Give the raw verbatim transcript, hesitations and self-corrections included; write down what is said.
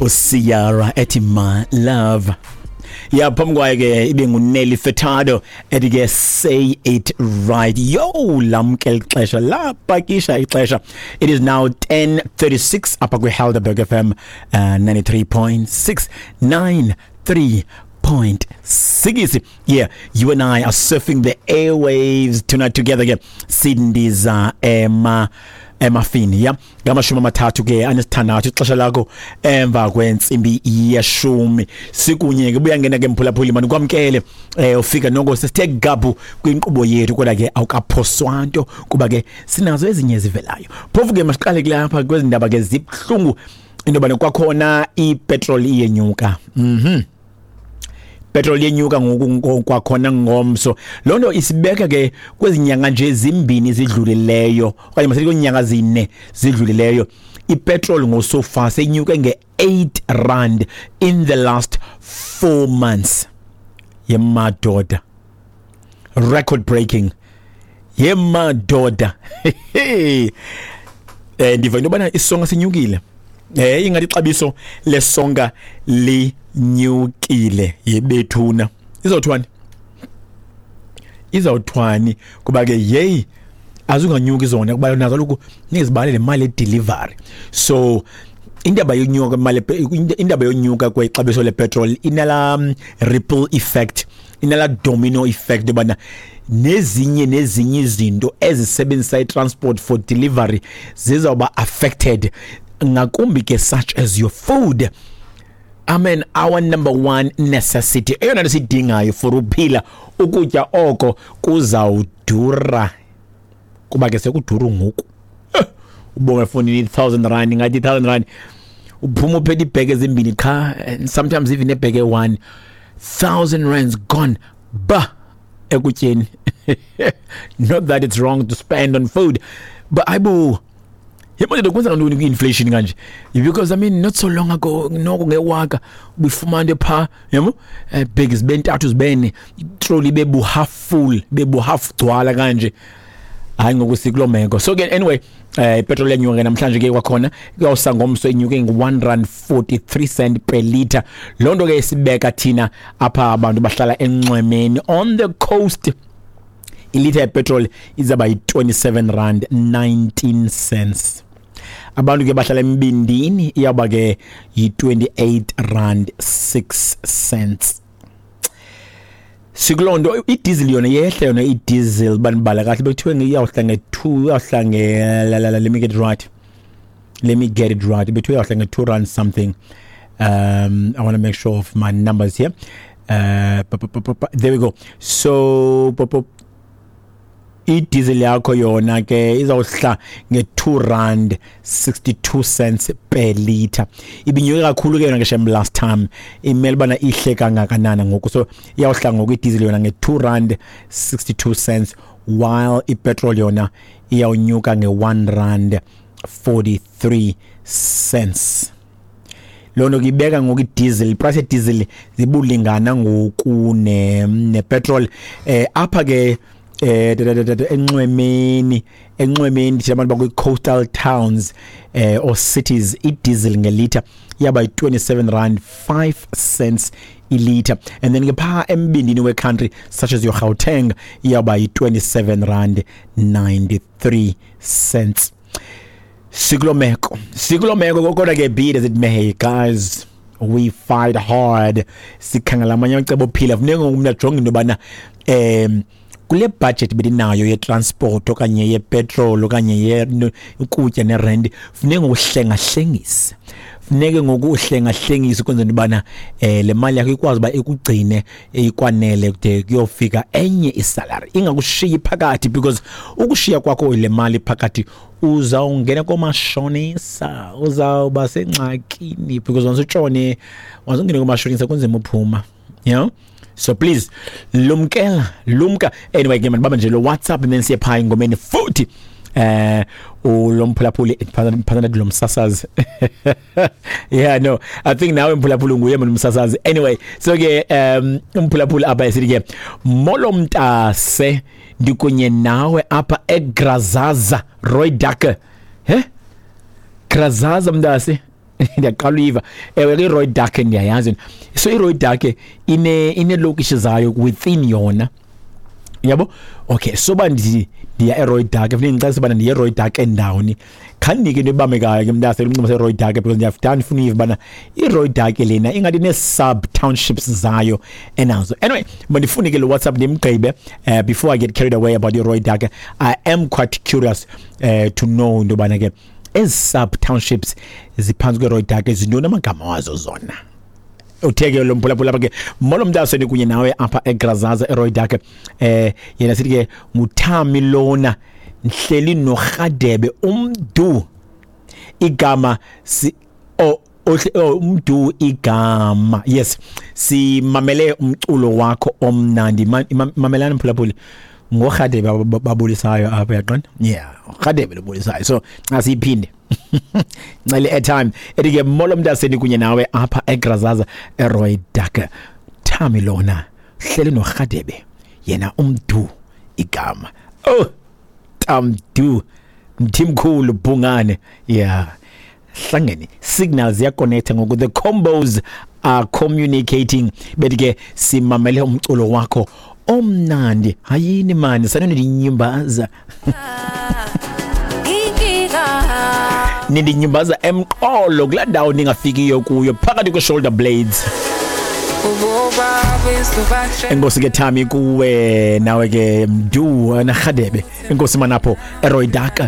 uSiara ethi "My Love". Ya, phambi kwayo ke ibe nguNelly Furtado ethi ke "Say It Right". Yo, lamkela ixesha, lapakisha ixesha. It is now ten thirty-six apha kwi-Helderberg F M uh, ninety-three point six, ninety-three point six. Yeah, you and I are surfing the airwaves tonight together ke. Sindiza ema emafini ya ngamashumi amathathu ke anesithandathu ixesha lakho emva kwentsimbi yeshumi. Sikunye ke, buyangena ke mphulaphuli, mani kwamkele eh ufika noko sesithe gabhu kwinkqubo yethu, kodwa ke awukaphoswa nto kuba ke sinazo ezinye ezivelayo. Phofu ke masiqale kulapha kwezi ndaba ke zibuhlungu, into yobana kwakhona ipetrol iyenyuka. mhm Petrol yenyuka ngoku kwakhona ngomso. Loo nto isibeka ke kwezi nyanga nje zimbini zidlulileyo, okanye masithi kwiinyanga zine zidlulileyo, ipetrol ngosofa senyuke nge-eight rand in the last four months. Yemadoda, record breaking, yemadoda. eh ndiva into yobana isonka sinyukile. eh ingathi ixabiso lesonka linyukile. Yebethuna, izawuthwani, izawuthwani? Kuba ke yeyi, azunganyuki zona kuba nazo kaloku nizibale le mali ye-delivery. So indaba yonyuka kwemali, indaba yonyuka kwexabiso lepetrol inala mm, ripple effect, inala domino effect yobana nezinye nezinye izinto ezisebenzisa i-transport for delivery zizawuba affected ngakumbi ke, such as your food. I mean, our number one necessity, eyona nto siyidingayo for uphila, ukutya, oko kuzawudura kuba ke sekuduru ngoku. Eh, ubonga efowunini i-thousand rand, ngathi i-thousand rand uphuma uphethe iibheke ezimbini qha, and sometimes even ebheke one thousand rands gone ba ekutyeni. Not that it's wrong to spend on food, but ayibo, yebo, kwenzeka ntoni kwi-inflation kanje? Because I mean, not so long ago noko ngewaka ubifumana into phaa, yabo, eh, bheki zibe ntathu, zibene, itroli ibe bu half full, ibe bu half gcwala kanje. Hayi, ngoku sikuloo meko. So ke anyway, eh ipetrol yenyuka ke namhlanje ke kwakhona. Kuyawusa ngomso inyuke ngu-one rand forty-three cent per liter. Loo nto ke isibeka thina apha abantu bahlala enxwemeni, on the coast, ilitha yepetrol izaba yi-twenty-seven rand nineteen cents. Abantu ke bahlala embindini iyawuba ke yi-twenty-eight rand six cents. Sikuloo nto. Idiesel yona yehle yona idiesel, banibala kahle, bekuthiwe iyawuhla nge-two, iyawuhla nge la, la, la, let me get it right, let me get it right, bethiwe iyawuhla nge-two rand something. um I want to make sure of my numbers here. uh pa, pa, pa, pa, pa, there we go. So pa, pa, idiesel yakho yona ke izawuhla nge-two rand sixty-two cents per liter. Ibinyuke kakhulu ke yona ke shem last time, imele bana ihle kangakanana ngoku? So iyawuhla ngoku idiesel yona nge-two rand sixty-two cents, while ipetrol yona iyawunyuka nge-one rand forty-three cents. Loo nto ke ibeka ngoku idiesel, iprice yediesel zibulingana ngoku ne nepetrol eh apha ke eh da- da- da- da- enxwemeni enxwemeni thina abantu bakwi-coastal towns eh or cities, idiesel ngelitha iyaba yi-twenty-seven rand five cents ilitha, and then ke phaa embindini we-country, such as your Gauteng, iyaba yi-twenty-seven rand ninety-three cents. Sikuloo meko, sikuloo meko. Kodwa ke, be it as it may, guys, we fight hard, sikhangela amanye amacebo ophila. Funeka ngoku umntu ajonge into yobana um kule budget belinayo yetransport okanye yepetrol okanye ye ukutya nerent, funeka ngokuhlengahlengise, funeke ngoku uhlengahlengise ukwenzela into yobana eh le mali yakho ikwazi uba ikugcine ikwanele kude kuyofika enye isalary, ingakushiyi phakathi, because ukushiya kwakho le mali phakathi uzawungena komashonisa, uzawuba sengxakini, because once utshone, once ungene komashonisa kunzima uphuma you know So please lumkela, lumka. Anyway ke mandibambe nje lo WhatsApp and then siye phaa engomeni futhi. eh ulomphulaphuli phakathi lo msasazi, yeah, no, I think nawe mphulaphuli nguye mina umsasazi. Anyway, so ke um umphulaphuli apha esithi ke, "Molo mntase, ndikunye nawe apha eGrazaza, Roy Ducker." He, Grazaza mntase. Ndiyaqala uyiva. Ewe ke, iRooidak ndiyayazi. So iRooidak ine ineelokishi zayo within yona, yabo. Okay, so ba ndi ndiya eRooidak, funeka ndicacise ubana ndiye eRooidak endawoni. Khandinike into ebambekayo ke mntase, umnxeba seRooidak, because ndiyafuna ndifuna uyiva ubana iRooidak lena ingathi nee-sub townships zayo enazo. Anyway, mandifune ke lo WhatsApp ndimgqibe uh, before I get carried away about iRooidak. I am quite curious uh, to know into yobana ke ezi sub townships ziphantsi kweRooidak zintoni amagama wazo zona. Uthe ke lo mphulaphula apha ke, molo mntaseni, kunye nawe apha eGrazaza eRooidak. eh yena sithi ke nguThami lona, ndihleli noRhadebe umdu igama si oh, oh, umdu igama. Yes, simamele umculo wakho omnandi. Mamelani mphulaphuli, ngoRhadebe babulisayo apha, yaqonda? Yeah, Rhadebe lobulisayo. So xa siyiphinde ncele airtime, ethi ke molo mntaseni, kunye nawe apha eGrazaza eRooidak, Thami lona, hleli noRhadebe, yena umdu igama. Oh, Tamdu Mthimkhulu Bhungane. Yeah, hlangene signals ziyaconnecta ngoku, the combos are communicating. Bethi ke simamele umculo wakho omnandi. Hayini mani, sanondinyimbaza, nindinyimbaza emqolo kulaa ndawo ningafikiyo kuyo phakathi kwe-shoulder blades. Enkosi ke Thami, kuwe nawe ke Mdu naRhadebe. Enkosi manapho eRooidak.